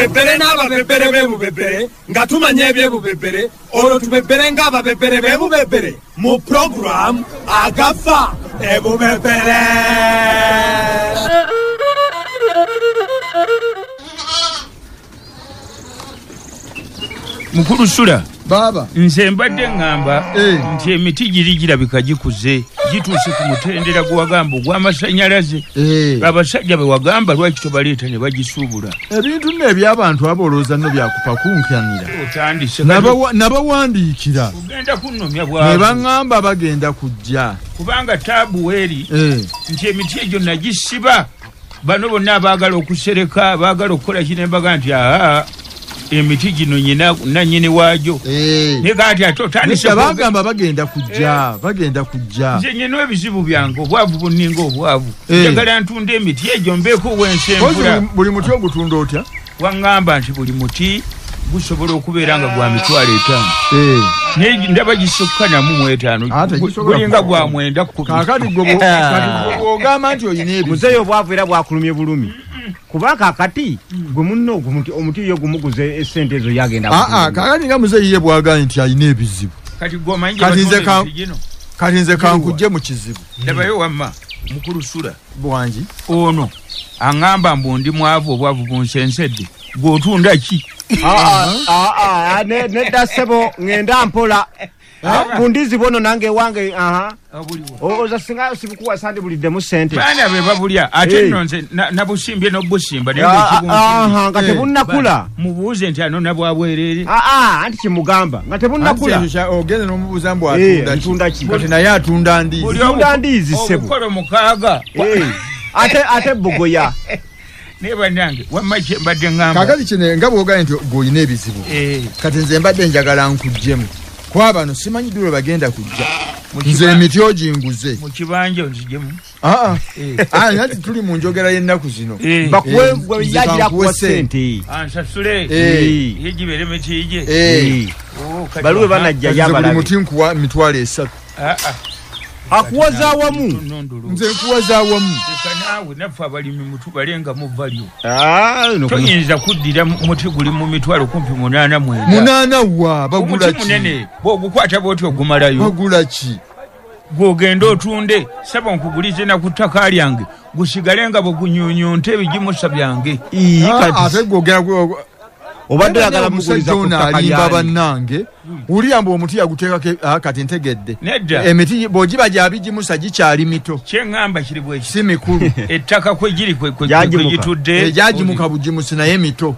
Tubebere n'ababebere b'ebubebere nga tumanya ebyebubebere, olwo tubebere ng'ababebere b'ebubebere mu puroguramu Agafa Ebubebere. Mukulu Sula. Baba. Nze mbadde ŋŋamba nti emiti giri girabika gikuze, gituuse ku mutendera gwe wagamba ogw'amasannyalaze. Abasajja be wagamba lwaki tobaleeta ne bagisuubula? Ebintu nno eby'abantu abo olowooza nno byakupakunkanira. Otandise. Nabawandiikira. Ogenda kunnomya bw'abo. Ne baŋŋamba bagenda kujja. Kubanga taabu weeri nti emiti egyo nagisiba. Bano bonna abaagala okusereka, abaagala okukola kino embaga nti aa emiti gino nannyini waagyo. Naye kati ate otandise bagamba bagenda kujja, bagenda kujja. Nze nnina ebizibu byange, obwavu bunninga obwavu. Njagala ntunda emiti egyo mbeeko wensenvula. Buli muti ogutunda otya? Waŋŋamba nti buli muti gusobola okubeera nga gwa 50,000. Naye ndaba gisukka namu 5. Gulinga gwa 9. Kaakati gwe bw'ogamba nti olina ebizibu. Muzeeyi obwavu era bwakulumye bulumi. Kuba kaakati gwe munno omuti yo gumuguze essente ezo yagenda. Kaakati nga muzeeyi ye bw'agambye nti alina ebizibu. Kati gwe omanyi gye batunda emiti gino? Kati nze kankujje mu kizibu. Ndabayo wamma mukulu Sula. Bwangi. Ono aŋŋamba mbu ndi mwavu, obwavu bunsensedde. Gw'otunda ki? Nedda ssebo, ŋŋenda mpola. Bundizi bono nange wange oza singa sibikuwa sandi buliddemu ssente. Baana be babulya ate nno nze nabusimbye n'obusimba naye ng'ekibunsimbye. Nga tebunnakula. Mubuuze nti ano nabwabwereere. Anti kyemugamba nga tebunnakula. Ogenda n'omubuuza mbu atunda ki? Kati naye atunda ndiizi. Atunda ndiizi ssebo. Obukolo 6. Ate bugoya. Naye bannange wamma kye mbadde ŋŋamba. Kaakati kino nga bw'ogambye nti gw'olina ebizibu. Kati nze mbadde njagala nkuggyemu. Kuba bano simanyi ddi lwe bagenda kujja. Nze emiti oginguze. Mu kibanja onziggyemu. Anti tuli mu njogera y'ennaku zino. Bakuwe yagira kuwa ssente. Ansasule. Ye gibeere miti gye. Baluwe banajja yabalabe. Buli muti nkuwa 30,000. Akuwaza awamu. Nze nkuwaza awamu. Leka naawe naffe abalimi mutubalenga mu value. Toyinza kuddira muti guli mu 89,000 kumpi 89. 8 wa bagula ki? Omuti munene bw'ogukwata bw'oti ogumalayo. Bagula ki? Gw'ogenda otunde saba nkugulize na ku ttaka lyange gusigale nga bwe gunyunyunta ebigimusa byange. Ate gw'ogera obadde oyagala muguliza ku ttaka alimba bannange. Wulira mbu omuti yaguteekako kati ntegedde. Emiti bw'ogiba gyabigimusa gikyali mito. Kye ŋŋamba kiri bwe ki? Si mikulu. Ettaka kwe giri kwe gitudde. Gyagimuka bugimusi naye mito.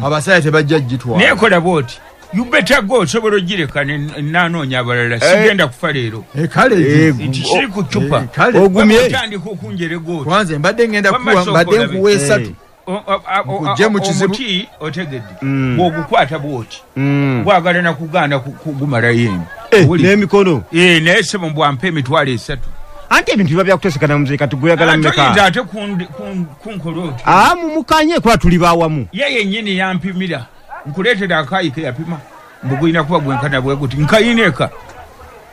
Abasajja tebajja gitwala. Naye kola bw'oti. You better go osobola ogireka nanoonya abalala. Sigenda kufa leero. Kale nti kiri ku ccupa. Ogumye. Otandika okunjerega oti. Kwanze mbadde ŋŋenda kuwa mbadde nkuwa 3. Omuti otegedde bw'ogukwata bw'oti gwagala nakugaana kugumalayo eno n'emikono. Naye ssebo mbwampa 30,000. Anti ebintu biba byakutesekana muzeeyi kati gweyagala mmeka? Toyinza ate kunkola oti. Mumukanye kuba tuli bawamu. Ye yennyini yampimira nkuleetera akaayi ke yapima mbu gulina kuba gwenkana bwe guti nkayina eka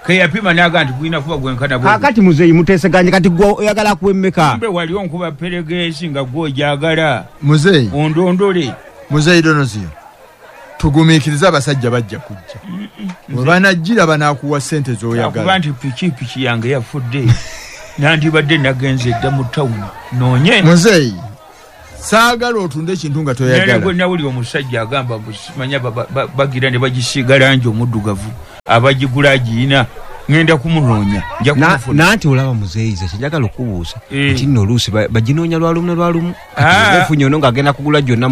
ke yapima n'aga nti gulina kuba gwenkana bwe guti. Kaakati muzeeyi muteeseganye kati gwe oyagala kuwa emmeka? Kumbe wali onkuba peregeesi nga gw'ogyagala. Muzeeyi. Ondondole. Muzeeyi Donozio, tugumiikirize abasajja bajja kujja. Bwe banajjira banaakuwa ssente z'oyagala. Akuba nti pikipiki yange yafudde nandibadde nagenze dda mu tawuni noonye. Muzeeyi, saagala otunde ekintu nga toyagala. Naye gwe nawulira omusajja agamba manya bagira ne bagisiiga langi omuddugavu abagigula agiyina ŋŋenda kumunoonya nja kumufuna. Nanti olaba muzeeyi nze kyenjagala okubuusa nti nno oluusi baginoonya lwalumu na lwalumu. Kati ofunye ono ng'agenda kugula gyonna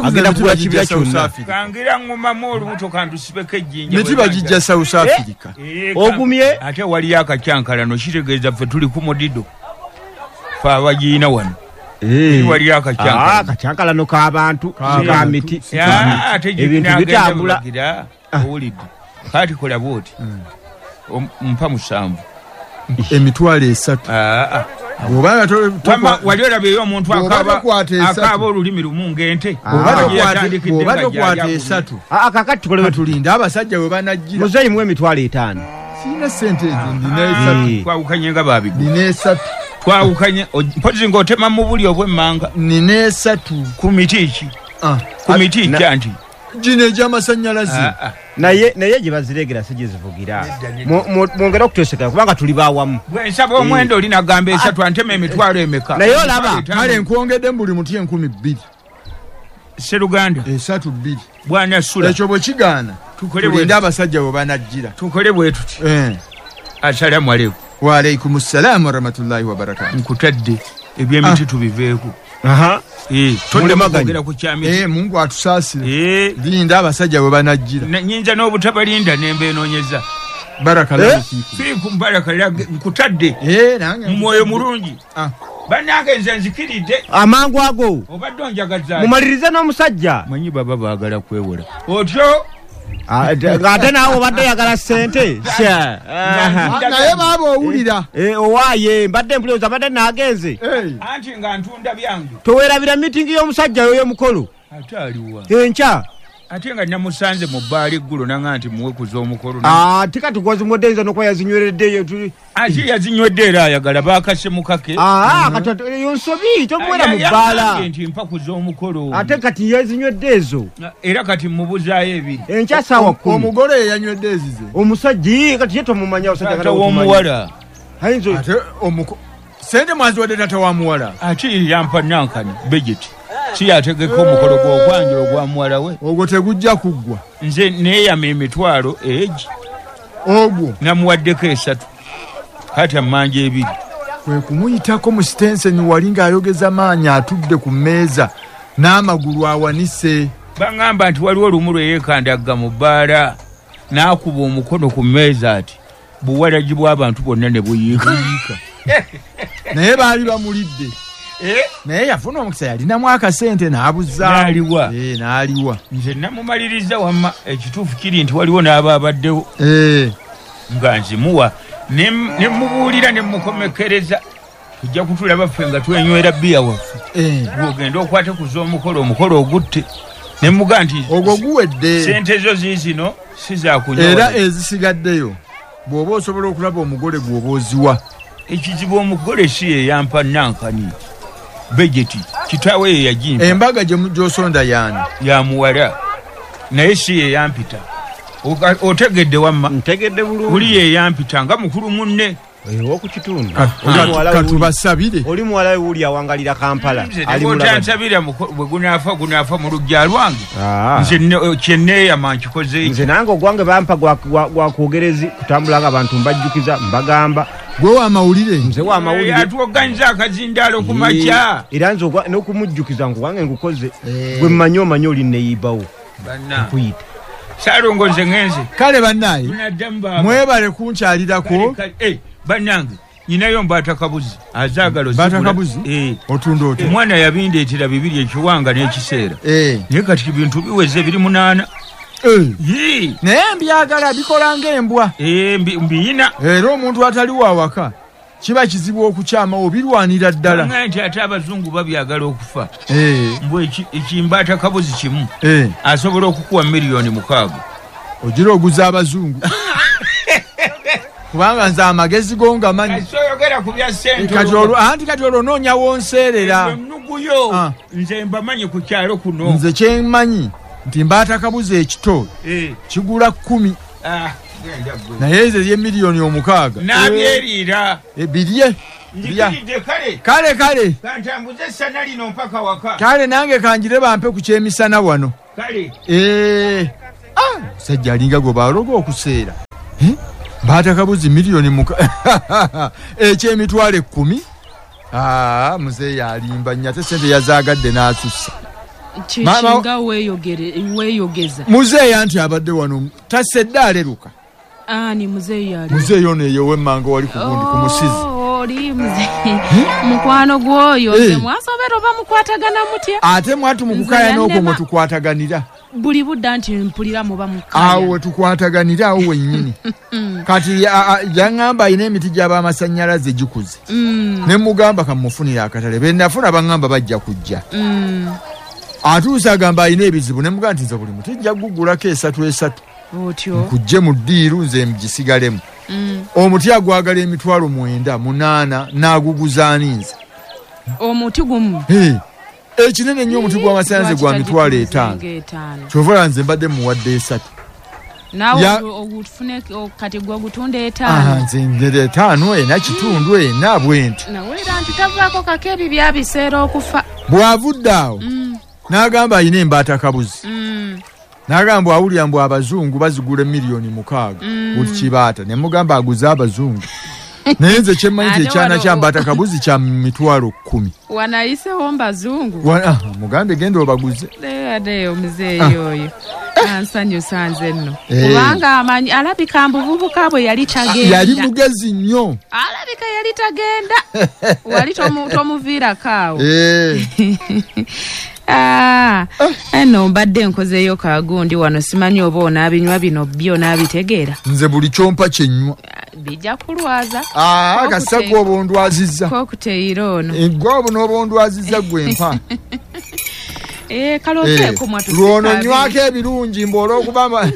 agenda kugula kibira kyonna. Kangira ŋŋumamu olubuto kantusibeko ejjinja. Miti bagijja South Africa. Ogumye. Ate waliyo akacyankalano kitegeeza ffe tuli ku mudido. Ffe abagiyina wano. Waliyo akacyankalano. Akacyankalano k'abantu ka miti. Ebintu bitambula. Owulidde. Kati kola bw'oti. Mpa 7. 30,000. Wali olabeyo omuntu akaaba olulimi lumu ng'ente. Bw'oba tokwata 3. Kakati tukole tulinde abasajja we banajjira. Muzeeyi muwe 50,000. Sirina ssente ezo ndina 3. Twawukanye nga baabigula. Nina 3. Twawukanye mpozi ng'otema mu buli obw'emmanga. Nina 3. Ku miti ki? Ku miti kyanti gino egy'amasannyalaze. Naye gye baziregera si gye zivugira. Mwongere okutweseka kubanga tuli bawamu. Bwe nsaba omwenda oli nagamba esatu antema emitwalo emeka. Naye olaba. Kale nkwongedde buli muti 2,000. Sseruganda. 3 2. Bwana Sula. Ekyo bwe kigaana. Tulinde abasajja bwe banajjira. Tukole bwe tuti. Assalamu alaikum. Wa alaikum assalam wa rahmatullahi wa barakatuh. Nkutadde ebyemiti tubiveeko. Tolemaganya ku kyamiti. Mungu atusaasire. Linda abasajja bwe banajjira. Nnyinza n'obutabalinda ne mbeenoonyeza. Barakallahu fiikum. Fiikum barakallahu nkutadde. Nange. Mu mwoyo mulungi. Bannange nze nzikiridde. Amangu ago. Obadde onjagaza. Mumalirize n'omusajja. Manyi baba baagala kwewola. Otyo. Ate naawe obadde oyagala ssente. Naye baaba owulira. Owaaye mbadde mpuliriza mbadde naagenze. Anti nga ntunda byange. Towerabira miitingi y'omusajja oyo omukolo. Ate aliwa. Enkya. Ate nga namusanze mu bbaala eggulo nanga nti muwe kuza omukolo. Ate kati gwazimuwadde n'okuba yazinywereddeyo. Ate yazinywedde era ayagala baakase mukake. Kati eyo nsobi tomuwera mu bbaala. Nti mpa kuza omukolo. Ate kati yazinywedde ezo. Era kati mubuzaayo ebiri. Enkya ssaawa 10. Omugole yanywedde ezize. Omusajja kati ye tomumanya abasajja kati omuwala. Ate sente mwaziwadde taata wa muwala. Ate yampa nankani bejeti. Si yategeka omukolo gw'okwanjula ogwa muwala we. Ogwo tegujja kuggwa. Nze neeyama emitwalo egi. Ogwo. Namuwaddeko 3. Kati ammanja 2. Kwe kumuyitako mu sitenseni wali ng'ayogeza maanyi atudde ku mmeeza n'amagulu awanise. Baŋŋamba nti waliwo olumu lwe yeekandagga mu bbaala n'akuba omukono ku mmeeza ati buwalagi bw'abantu bwonna ne buyiika. Naye baali bamulidde. Naye yafuna omukisa yalinamu akasente n'abuzaawo. N'aliwa. N'aliwa. Nze namumaliriza wamma ekituufu kiri nti waliwo n'abaabaddewo. Nga nzimuwa ne mubuulira ne mukomekereza. Tujja kutulaba ffe nga twenywera bbiya waffe. Gw'ogenda okwate ku z'omukolo omukolo ogutte. Ne muga nti ogwo guwedde. Ssente zo ziizino si za kunywa. Era ezisigaddeyo bw'oba osobola okulaba omugole gw'oba oziwa. Ekizibu omugole si ye yampa nankani. Bejeti kitaawe ye yagimpa. Embaga gy'osonda yaani? Ya muwala. Naye si ye yampita. Otegedde wamma. Ntegedde bulungi. Buli ye yampita nga mukulu munne. Ow'oku kitundu. Katubasabire. Oli muwala we wuli awangalira Kampala. Ali mulaba. Otansabira bwe gunaafa mu luggya lwange. Nze kye neeyama nkikoze. Nze nange ogwange bampa gwa kwogerezi kutambula nga abantu mbajjukiza mbagamba. Gwe w'amawulire. Nze w'amawulire. Atuoganyiza akazindaalo ku makya. Era nze n'okumujjukiza ngu wange ngukoze. Gwe mmanyi omanyi oli neeyibawo. Nkuyita. Saalongo nze ngenze. Kale bannaye. Mwebale kunkyalirako. Bannange nyinayo mbaata kabuzi azaagala ozigula. Mbaata kabuzi? Otunda otya? Omwana yabindeetera 2 ekiwanga n'ekiseera. Naye kati bintu biweze 8. Naye mbyagala bikola ng'embwa. Mbiyina. Era omuntu atali wawaka kiba kizibu okukyama obirwanira ddala. Nti ate abazungu babyagala okufa. Mbwe ekimbaata kabuzi kimu asobola okukuwa 6 million. Ogira oguza abazungu. Kubanga nze amagezi go ngamanyi. Soyogera ku bya ssente. Anti kati olwo onoonya wonseerera. Ennuguyo nze mbamanyi ku kyalo kuno. Nze kye mmanyi nti mbaata kabuzi ekito kigula 10. Naye ezo ye 6 million. N'abyeriira. Birye. Nzikiridde kale. Kale kale. Kantambuze essana lino mpaka waka. Kale nange kanjire bampe ku kyemisana wano. Kale. Musajja alinga gwe baloga okuseera. Mbaata kabuzi 6 million eky'emitwalo 10. Muzeeyi alimba nnyo ate ssente yazaagadde n'asussa. Kikinga weeyogeza. Muzeeyi anti abadde wano tasedde aleruka. Ani muzeeyi ali? Muzeeyi ono eyo ow'emmanga wali ku gundi ku musizi. Oli muzeeyi mukwano gw'oyo nze mwasobera oba mukwatagana mutya? Ate mwatu mu kukaayana okwo mwe tukwataganira. Buli budda nti mpulira muba mukaayana. Awo we tukwataganira awo wennyini. Kati yaŋŋamba alina emiti gy'abamasannyalaze gikuze. Ne mugamba kamufunire akatale. Be nafuna baŋŋamba bajja kujja. Atuuse agamba alina ebizibu ne mugamba nti nze buli muti nja kugugulako 3 Otyo. Nkujje mu ddiiru nze mugisigalemu. Omuti agwagala emitwalo 9 8 n'aguguza ani nze? Omuti gumu. Ekinene nnyo omuti gw'amasannyalaze gwa 5,000. Kyova nze mbadde muwadde 3. Naawe ogufune kati gwe ogutunda 5. Nze ngere 5 4.5 4 bwenti. Nawe era nti tavaako kake ebi byabiseera okufa. Bw'avudde awo n'agamba ayina embaata kabuzi. N'agamba awulira mbu abazungu bazigula 6,000,000 buli kibaata. Ne mugamba aguze abazungu. Naye nze kyemmanyi nti ekyana kya mbaata kabuzi kya 10,000. Wanayisewo mbazungu. Mugambe genda obaguze. Ate omuzeeyi oyo. Ansanyusa nze nno. Kubanga amanyi alabika mbuvubuka bwe yali tagenda. Yali mugezi nnyo. Alabika yali tagenda. Wali tomuviirako awo. Eno mbadde nkozeeyo kagundi wano simanyi oba onaabinywa bino byo n'abitegeera. Nze buli kyompa kyenywa. Bijja kulwaza. Kasa gwe oba ondwazizza. Kokuteyiro ono. Gwe oba ondwazizza gwe mpa. Kaloteeko mwatu. Lwono nywako ebirungi mbu olw'okuba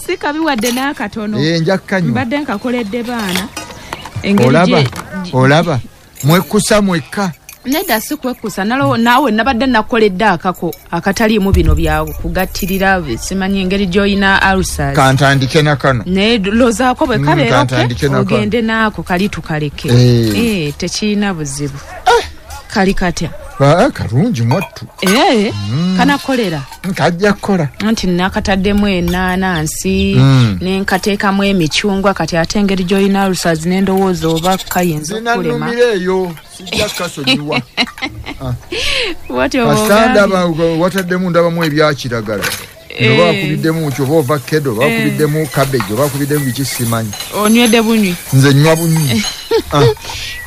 si kabi wadde n'akatono. Nja kukanywa. Mbadde nkakoledde baana. Olaba mwekkusa mwekka. Nedda si kwekkusa naawe nabadde nakoledde akako akataliimu bino bya kugattirira simanyi engeri gy'olina ulcers. Kantandike na kano. Naye lozaako bwe kabeera ogende naako kali tukaleke. Tekirina buzibu. Kali katya? Kalungi mwattu. Kanakolera. Kajja kukola. Anti nakataddemu ennaanansi ne nkateekamu emicungwa kati ate engeri gy'olina ulcers n'endowooza oba kayinza okulema. Zinannumira eyo sijja kukasonyiwa. Kasita ndaba wataddemu ndabamu ebyakiragala. Oba bakubiddemu ki oba ovakkedo oba bakubiddemu cabbage oba bakubiddemu biki simanyi. Onywedde bunywi. Nze nnywa bunywi.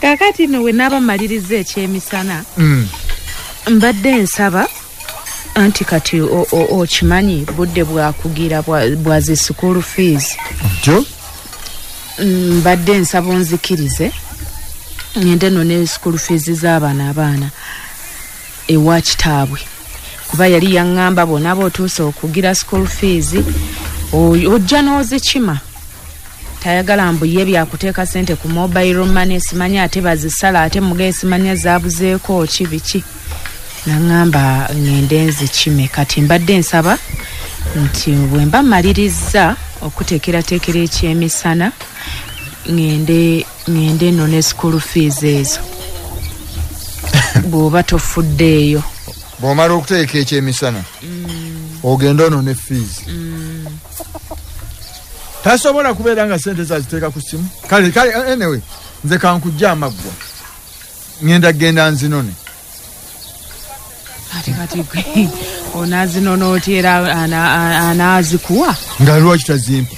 Kaakati nno we naaba mmaliriza ekyemisana mbadde nsaba anti kati okimanyi budde bwakugira bwa zi school fees. Ntyo? Mbadde nsaba onzikirize ngende nno ne school fees z'abaana abaana ewa kitaabwe. Kuba yali yaŋŋamba bw'onaaba otuuse okugira school fees ojja n'ozikima. Tayagala mbu ye byakuteeka ssente ku mobile money simanyi ate bazisala ate mugaye simanya zaabuzeeko ki biki. Naŋŋamba ŋŋende nzikime kati mbadde nsaba nti bwe mba mmaliriza okuteekerateekera ekyemisana ŋŋende nno ne school fees ezo. Bw'oba tofuddeeyo. Bw'omala okuteeka ekyemisana ogenda ono ne fees. Tasobola kubeera nga ssente zaziteeka ku ssimu. Kale anyway nze kankujja amaggwa. Ngenda genda nzinone. Ate kati gwe onaazinona otya era anaazikuwa? Nga lwaki tazimpa?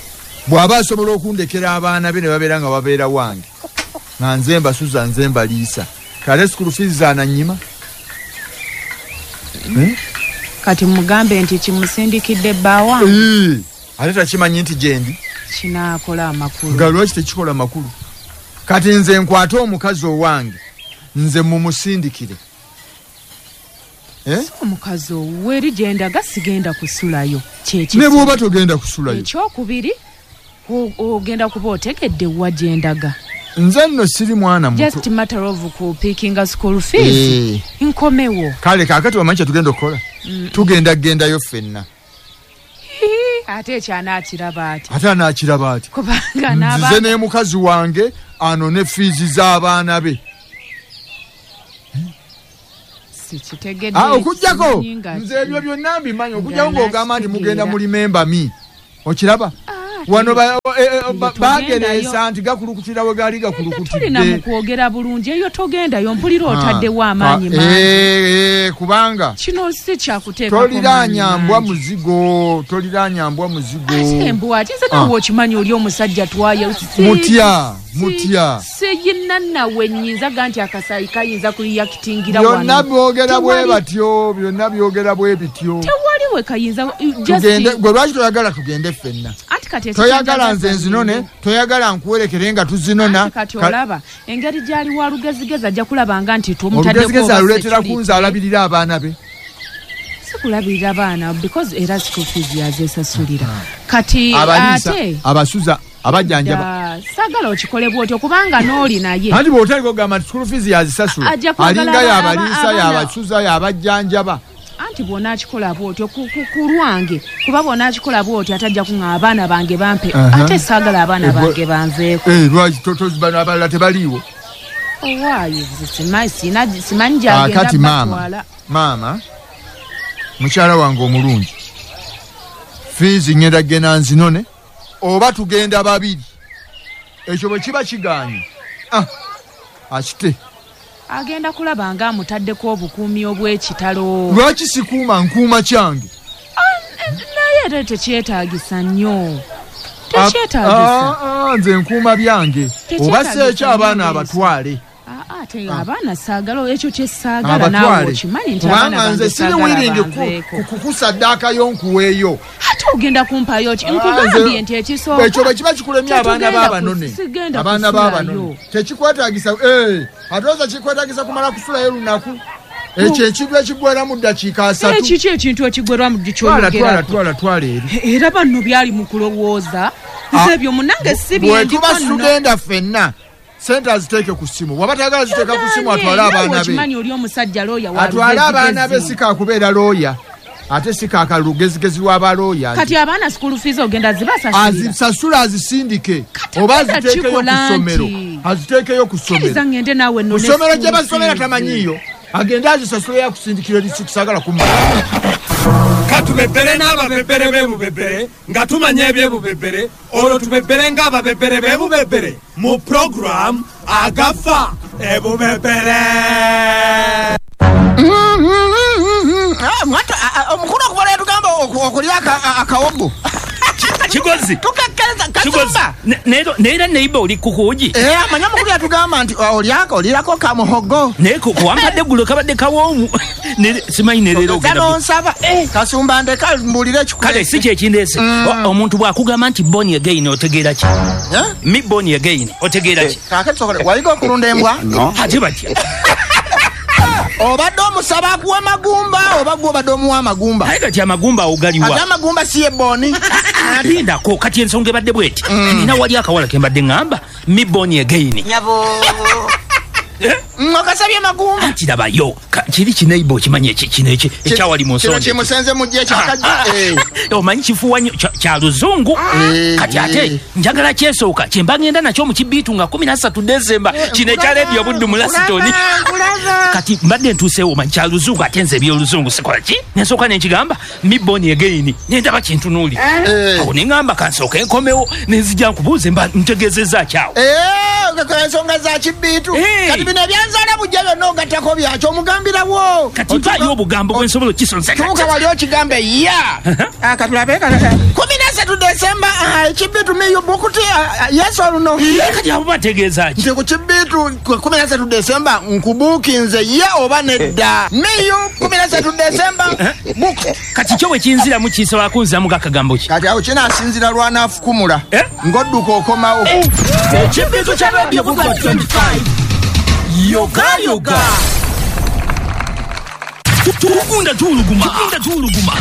Bw'aba asobola okundekera abaana be ne babeera nga babeera wange. Nga nze mbasuza nze mbaliisa. Kale school fees zaanannyima. Kati mugambe nti kimusindikidde bba wange. Ate takimanyi nti gyendi. Kinaakola amakulu. Nga lwaki tekikola makulu? Kati nze nkwate omukazi owange nze mumusindikire. Omukazi owuwe eri gyendaga sigenda kusulayo. Ne bw'oba togenda kusulayo. Ekyokubiri ogenda kuba otegedde wa gyendaga. Nze nno siri mwana muto. Just matter of kupickinga school fees. Nkomewo. Kale kaakati wamanyi kye tugenda okukola? Tugenda gendayo ffenna. Ate ekyanaakiraba ati. Ate anaakiraba ati. Kubanga n'aba nzize ne mukazi wange anone fiizi z'abaana be. Sikitegedde. Okuggyako nze ebyo byonna mbimanyi okuggyako ng'ogamba nti mugenda mu remember me. Okiraba? Wano bagereesa nti gakulukutira we gaali gakulukutidde. Tulina mu kwogera bulungi eyo togendayo mpulira otaddewo amaanyi mangi. Kubanga kino si kyakuteekako toliraanya mbwa muzigo, toliraanya mbwa muzigo. Ate embwa ate nze nawe okimanyi oli omusajja twaya. Mutya. Siyina nawe nnyinza ga nti akasaayi kayinza kuliyakitingira wano. Byonna byogera bwe batyo, byonna byogera bwe bityo. Tewali we kayinza tugende. Gwe lwaki toyagala tugende ffenna? Toyagala nze nzinone, toyagala nkuwerekere nga tuzinona. Kati olaba engeri gy'ali wa lugezigezi ajja kulabanga nti tumutaddeko olugezigezi aluleetera kunze alabirira abaana be. Sikulabirira abaana because era school fees yazeesasulira. Kati ate abasuza abajjanjaba Saagala okikole bw'otyo kubanga n'oli naye. Anti bw'otali kugamba nti school fees yazisasula. Alinga y'abaliisa, y'abasuza, y'abajjanjaba. Anti bw'onaakikola bw'otyo ku lwange, kuba bw'onaakikola bw'otyo atajja kuŋŋa abaana bange bampe. Ate saagala abaana bange banveeko. Lwaki bano abalala tebaliiwo? Owaayo simanyi gy'agenda batwala. Maama, mukyala wange omulungi, fiizi ngenda genda nzinone oba tugenda babiri. Ekyo bwe kiba kigaanye, akite. Agenda kulaba nga amutaddeko obukuumi obw'ekitalo. Lwaki sikuuma nkuuma kyange? Naye era tekyetaagisa nnyo. Tekyetaagisa. Nze nkuuma byange. Oba si ekyo abaana abatwale. Ate abaana saagala ekyo kye saagala naawe okimanyi nti abaana bange saagala banveeko. Kukusaddaakayo nkuweeyo. Ate ogenda kumpayo ki? Nkugambye nti ekisooka. Ekyo bwe kiba kikulemye abaana b'abanone. Abaana b'abanone. Tekikwetaagisa. Ate oza kikwetaagisa kumala kusulayo lunaku. Ekyo ekintu ekigwera mu ddakiika 3. Kiki ekintu ekigwera mu kyoyogerako? Twala eri. Era banno byali mu kulowooza. Nze ebyo munnange si bye ndiko nno. Bwe tuba tugenda ffenna. Sente aziteeke ku ssimu. Bw'aba tayagala ziteeka ku ssimu atwale abaana be. Okimanyi oli omusajja looya wa atwale abaana be si kakubeera looya. Ate si kakalugezigezi w'abalooya. Kati abaana school fees ogenda zibasasulira. Azisasula azisindike. Oba aziteekeyo ku ssomero. Aziteekeyo ku ssomero. Kkiriza ngende naawe nno. Ku ssomero gye basomera tamanyiiyo. Agende azisasule yakusindikira risiti saagala kumala. Katubebere n'ababebere b'ebubebere nga tumanya eby'ebubebere olwo tubebere ng'ababebere b'ebubebere mu program agafa ebubebere. Omukulu okuva yatugamba okulya akawogo. Kigozi. Tukakkereza kasumba. Neera neiba oli kukuugi. Amanya omukulu yatugamba nti olyako olirako kamuhogo. Naye wampadde eggulo kabadde kawoomu. Simanyi ne leero ogenda. Nonsaba. Kasumba ndeka mbuulire ekikuleese. Kale si kyekindeese. Omuntu bw'akugamba nti born again otegeera ki? Me born again otegeera ki? Kaakati sokola wayiga okulunda embwa? Ate batya? Obadde omusaba akuwa magumba oba gwe obadde omuwa amagumba? Naye kati amagumba awo galiwa? Ate amagumba si ye boni. Lindako kati ensonga ebadde bweti. Nina wali akawala ke mbadde ŋŋamba me born again. Nyabo. Okasabye magumba. Anti labayo kiri kineiba okimanyi kino ekyawali mu nsonda. Kino kimusenze mujje ekyakajja. Omanyi kifuwa nnyo kya luzungu. Kati ate njagala kyesooka kye mba ngenda nakyo mu kibiitu nga 13 Desemba kino ekya leediyo Buddu mu Lasitoni. Kati mbadde ntuuseewo omanyi kya luzungu ate nze ebyoluzungu sikola ki? Ne nsooka ne nkigamba me born again ne ndaba kintunuulira. Awo ne ŋŋamba kansooke nkomewo ne nzija nkubuuze mba ntegeezezza ki awo. Ensonga za kibiitu. Kati bino ebyanzaala bujja byonna ogattako byakyo omugambirawo. Kati mpaayo obugambo bwe nsobola okukisonsa. Tuuka wali okigambe ya. Katulabe 13 Desemba ekibiitu miyu bukuti yesu oluno. Kati abo bategeeza ki? Nti ku kibiitu 13 Desemba nkubuukinze ye oba nedda. Miyu 13 Desemba buku. Kati kyo bwe kinziramu kisobola kunziramu gakagambo ki? Kati awo kinaasinzira lwanaafukumula. Ng'odduka okomawo. Ekibiitu kya Radio Buddu 25. Yoga yoga. Tugunda tuuluguma. Tugunda tuuluguma.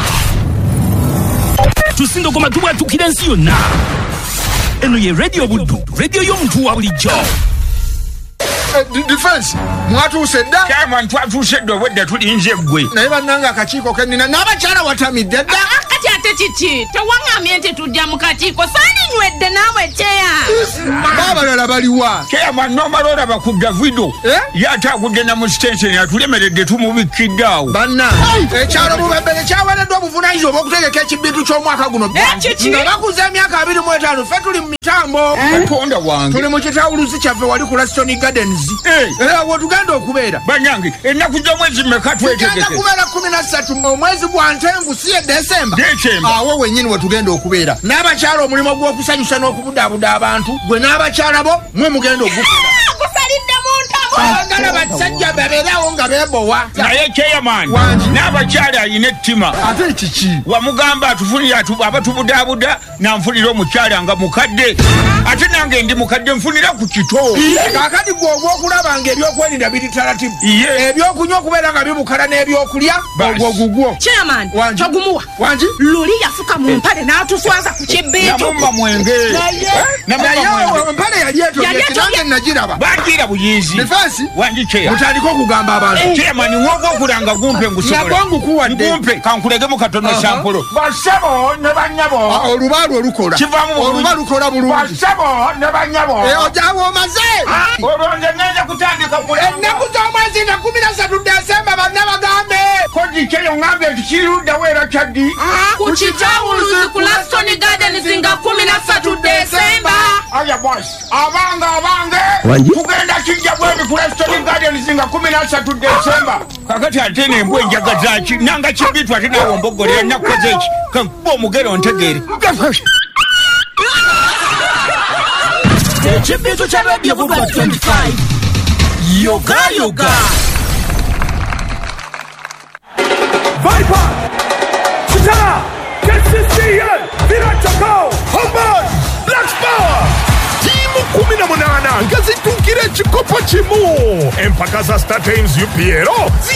Tusindogoma tubwatukira ensi yonna. Eno ye Radio Buddu, radio y'omuntu wa bulijjo. Defense mwatuuse dda. Chairman twatuuse dda obwedda tulinze ggwe. Naye bannange akakiiko ke nnina n'abakyala watamidde dda. Kati ate kiki? Tewaŋŋambye nti tujja mu kakiiko. Saalinywedde naawe kyeya. Baabalala baliwa. Chairman n'omala olaba ku Davido. Ye ate agudde na mu sitenseni atulemeredde tumubikkidde awo. Bannange ekyalo Bubebere kyaweereddwa obuvunaanyizibwa obw'okutegeka ekibiitu ky'omwaka guno. Nga bakuza emyaka 25 ffe tuli mu mitambo. Katonda wange. Tuli mu kitawuluzi kyaffe wali ku Lasitoni Gardens. Era wetugenda okubeera. Bannange ennaku z'omwezi mmeka twetegeke? Tugenda kubeera 13 omwezi gwa Ntenvu si ye Desemba. Awo wennyini wetugenda okubeera. N'abakyala omulimu gw'okusanyusa n'okubudaabuda abantu gwe n'abakyala bo mwe mugenda ogukola. Gusalidde mu ntamu Saagala basajja babeerawo nga beebowa. Naye chairman n'abakyala alina ettima. Ate kiki? Wamugamba atufunire abatubudaabuda nanfunira omukyala nga mukadde, ate nange ndi mukadde nfunira ku kito. Kaakati gwe ogw'okulaba nga ebyokwerinda biri taratibu, ebyokunywa okubeera nga bibukala n'ebyokulya, ogwo gugwo. Chairman, togumuwa. Wangi? Luli yafuka mu mpale n'atuswaza ku kibbiitu. Namumma mwenge. Naye empale yali etobye, nange nagiraba. Bagira buyizi. Defense? Wangi chair. Mutandike okugamba abantu. Chairman, ng'ogwokulanga gumpe ngusobola. Nagwo ngukuwadde. Gumpe, kankulegemu katono sampolo. Basebo ne bannyabo. Oluba lwo lukola. Kivaamu bulungi. Oluba lukola bulungi. Basebo ne bannyabo. Ojawo omaze. Olwo nze ngenda kutandika kulanga. Ennaku z'omwezi nga 13 Desemba banna bagambe. Koji kyeyo ngambye nti kiruddawo era kyaddi. Ku kitawuluzi ku Laston Gardens nga 13 Desemba. Aya boss, abange abange. Tugenda kijja bwebi ku Laston Gardens nga 13 Desemba. Kakati ate n'embwa enjaga zaaki nanga kibitu ate naawe ombogolera nakukoze eki kankuba omugero ntegeere. Ekibitu kya Radio Buddu 25 Yoga Yoga. Viper, Kitara, KCCA, Villa Homeboy, Black Power. Timu 18 nga zituukira ekikopo kimu. Empaka za Star Times UPL.